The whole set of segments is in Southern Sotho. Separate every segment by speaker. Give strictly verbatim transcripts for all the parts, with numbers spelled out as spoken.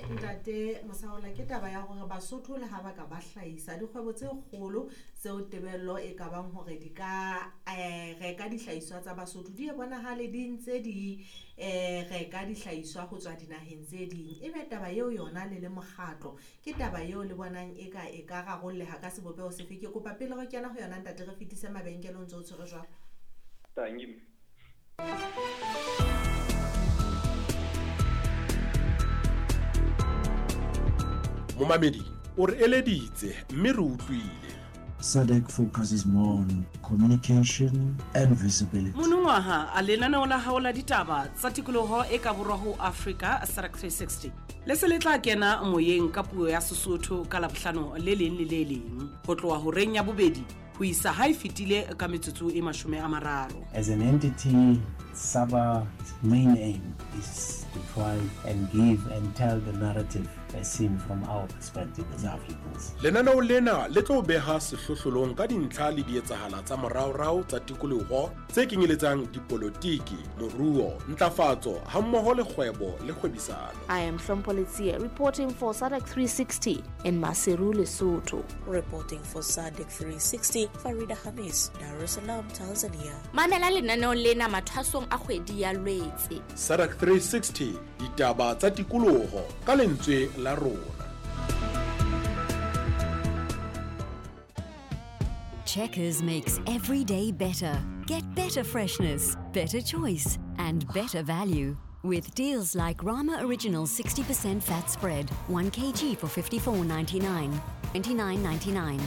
Speaker 1: Ntate Mosaola, ke taba ya hore Basotho le ha ba ka ba hlahisa dikgwebo tse kgolo tseo tebello e ka bang hore di ka eh, reka dihlahiswa tsa Basotho, di e bonahale di ntse di eh, reka dihlahiswa ho tswa dinaheng tse ding. Ebe taba eo yona le le mokgatlo, ke taba eo le bonang e ka e ka rarolleha ka sebopeho sefe? Ke kopa pele re kena ho yona, ntate, re fetise mabenkele o ntse o tshwere jwalo.
Speaker 2: Thank you.
Speaker 3: Momamedi o re eleditse mme re utlwile.
Speaker 4: SADC focuses more on communication and visibility.
Speaker 5: Monongwaha a lenaneo la hao la ditaba tsa tikoloho e ka borwa ho Afrika SADC three sixty le se le tla kena moyeng ka puo ya Sesotho ka Labohlano le leng le le leng ho tloha horeng ya bobedi ho isa ha e fetile ka metsotso e mashome a mararo.
Speaker 4: As an entity, SABA's main aim is to try and give and tell the narrative as seen from our perspective as Africans.
Speaker 3: Lenaneo lena le tlo beha sehlohlolong ka dintlha le dietsahala tsa moraorao tsa tikoloho tse kenyeletsang dipolotiki, moruo, ntlafatso hammoho le kgwebo le kgwebisano.
Speaker 6: I am Hlompho Letsie reporting for SADC three sixty in Maseru, Lesotho.
Speaker 7: Reporting for SADC three sixty, Farida Hamis, Dar es Salaam, Tanzania.
Speaker 6: Mamela lenaneo lena mathwasong a kgwedi ya Lwetse.
Speaker 3: SADC three sixty, ditaba tsa tikoloho ka lentswe la rona.
Speaker 8: Checkers makes every day better. Get better freshness, better choice, and better value. With deals like Rama Original sixty percent fat spread, one kilogram for fifty-four ninety-nine, twenty-nine ninety-nine.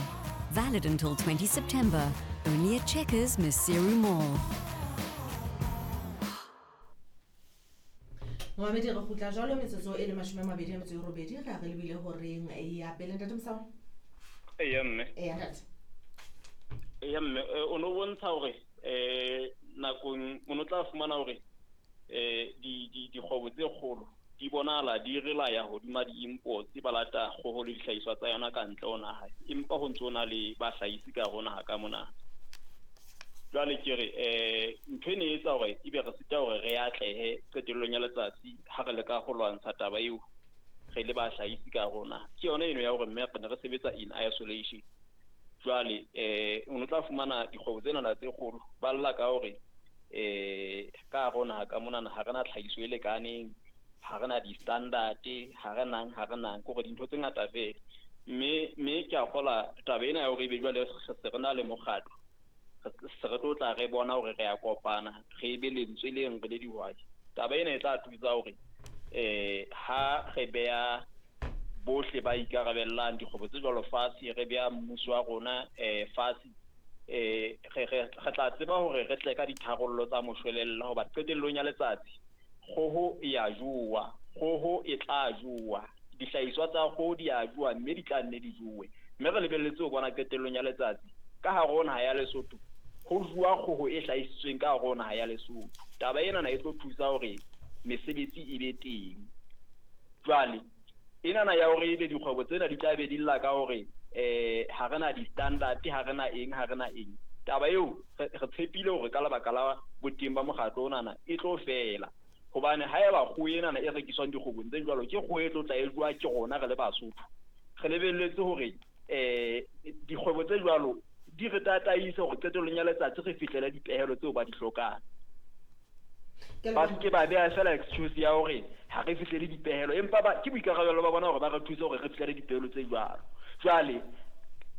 Speaker 8: Valid until twenty September. Only at Checkers Maseru Mall.
Speaker 1: Momamedi, re kgutla jwalo metsotso e le mashome a mabedi a metso e robedi re a re lebile horeng ya pele. Ntate Mosaola.
Speaker 2: Eya, mme.
Speaker 1: Eya, ntate.
Speaker 2: Eya, mme, eh, o no bontsha hore eh nakong o no tla fumana hore eh di di dikgwebo tse kgolo di bonahala di relaya hodima di-imports, ba lata kgoho le dihlahiswa tsa yona ka ntle ho naha, empa ho ntso na le bahlahisi ka hare ho naha ka mona. Jwale ke re eh ntho ene e etsa hore ebe re sita hore re atlehe qetellong ya letsatsi ha re leka ho lwantsha taba eo re le bahlahisi ka hare ho naha, ke yona eno ya hore mme re ne re sebetsa in isolation. Jwale eh o no tla fumana dikgwebo tsena tse kgolo ba lla ka hore eh ka hare ho naha ka monana ha re na tlhahiso e lekaneng, ha re na di-standard, ha re nang ha re nang ke hore dintho tse ngata fela. Mme mme ke a kgola taba ena ya hore ebe jwale re se re na le mokgatlo, se re tlo tla re bona hore re a kopana, re be lentswe leng re le dihwai. Taba ena e tla thusa hore eh ha re beha bohle ba ikarabellang dikgwebo tse jwalo fatshe, re beha mmuso wa rona eh fatshe, eh re re re tla tseba hore re tle ka ditharollo tsa moshwelella, hoba qetellong ya letsatsi kgoho e a jowa, kgoho e tla jowa, dihlahiswa tsa kgoho di a jowa, mme di tla nne di jowe. Mme re lebelletse ho bona qetellong ya letsatsi ka hare ho naha ya Lesotho ho jowa kgoho e hlahisitsweng ka hare ho naha ya Lesotho. Taba ena na e tlo thusa hore mesebetsi e be teng. Jwale enana ya hore ebe dikgwebo tsena di tla be di lla ka hore eh ha re na di-standard, ha re na eng, ha re na eng, taba eo re re tshepile hore ka lebaka la boteng ba mokgatlo onana e tlo fela, hobane haeba kgoho enana e rekiswang dikgwebong tse jwalo ke kgoho e tlo tla e jowa ke rona re le Basotho, re lebelletse hore eh dikgwebo tse jwalo di re tataise hore qetellong ya letsatsi re fihlele dipehelo tseo ba di hlokang. Ba se ke ba beha fela excuse ya hore ha re fihlele dipehelo, empa ba ke boikarabelo ba bona hore ba re thuse hore re fihlele dipehelo tse jwalo. Jwale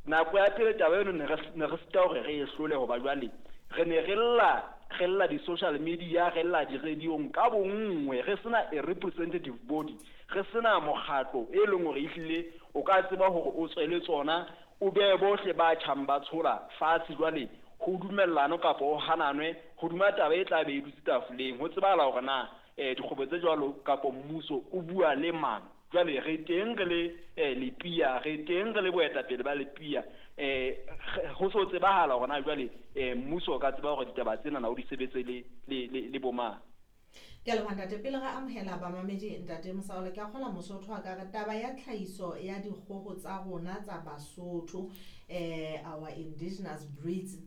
Speaker 2: nako ya pele taba eno ne re ne re sita hore re e hlole, hoba jwale re ne re lla re lla di-social media, re lla di-radio-ng ka bonngwe, re sena a representative body, re sena mokgatlo e leng hore ehlile o ka tseba hore o tswele tsona, o behe bohle ba tjhang ba tshola fatshe, jwale ho dumellano kapa ho hananwe hodima taba e tla be e dutse tafoleng, ho tsebahala hore na eh dikgwebo tse jwalo kapa mmuso o bua le mang. Jwale re teng re le eh lepia, re teng re le boetapele ba lepia, eh ho so tsebahala hore na jwale eh mmuso o ka tseba hore ditaba tsena na o di sebetse le le le bo mang.
Speaker 1: Ke a leboha, ntate. Pele re amohela bamamedi, ntate Mosaola, ke a kgola Mosotho a ka re taba ya tlhahiso ya dikgoho tsa rona tsa Basotho, eh our indigenous breeds.